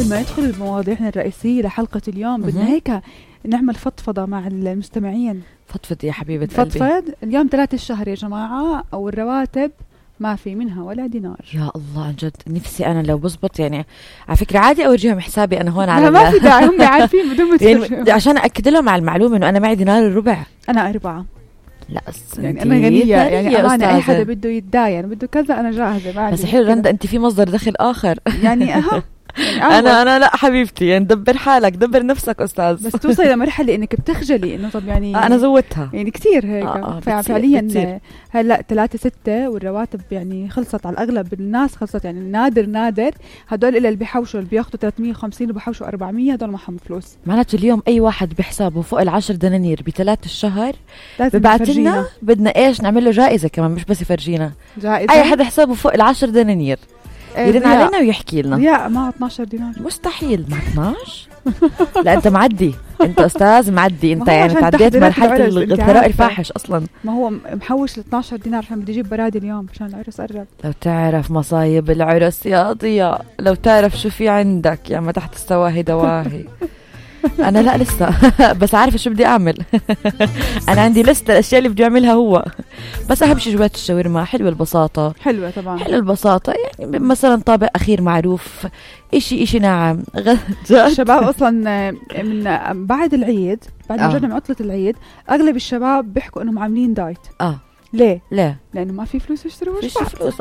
قبل ما ندخل بمواضيعنا الرئيسية لحلقة اليوم بدنا هيك نعمل فضفضة مع المستمعين. فضفض يا حبيبة قلبي. فضفض. اليوم 3 الشهر يا جماعة، أو الرواتب ما في منها ولا دينار. يا الله عن جد نفسي أنا لو بزبط، يعني على فكرة عادي أورجيهم حسابي أنا هون على ما في داعي، هم عارفين بدون ما يعني عشان أكد لهم على المعلومة إنه أنا معي دينار الربع. أنا 4. لا يعني أنا غنية، يعني أمانة أي حدا بده يتداين بده كذا أنا جاهزة. بس حلو رندا أنت في مصدر دخل آخر. يعني أها يعني أنا لا حبيبتي، يعني دبر حالك دبر نفسك أستاذ. بس توصلي لمرحلة إنك بتخجلي إنه طب يعني أنا زودتها يعني كتير هيك. فعليا هلا 3-6 والرواتب يعني خلصت على الأغلب الناس، خلصت يعني نادر هدول اللي بيحوشوا اللي بياخدوا 350 وبيحوشوا 400 هدول ما حمل فلوس. معناته اليوم أي واحد بحسابه فوق 10 دنانير ب3 الشهر ببعتلنا بدنا إيش نعمل له جائزة كمان، مش بس يفرجينا جائزة. أي حد حسابه فوق 10 دنانير يرن علينا ويحكي لنا. يا ما 12 دينار مستحيل. ما 12 لا انت معدي، انت استاذ معدي انت، يعني تعديت مرحله الثراء الفاحش اصلا. ما هو محوش ل 12 دينار عشان بدي اجيب برادي اليوم عشان العرس قرب. لو تعرف مصايب العرس يا ضياء، لو تعرف شو في عندك يا ما تحت السواهي دواهي. انا لا لسه بس عارفه شو بدي اعمل. انا عندي لسه الاشياء اللي بدي اعملها هو، بس اهم شيء جوات الشاورما حلوه البساطه. حلوه طبعا، حلوه البساطه، يعني مثلا طابق اخير معروف، اشي ناعم. الشباب اصلا من بعد العيد، بعد ما رجعنا من عطله العيد اغلب الشباب بيحكوا انهم عاملين دايت. ليه؟ لانه ما في فلوس يشتروا فيش فلوس.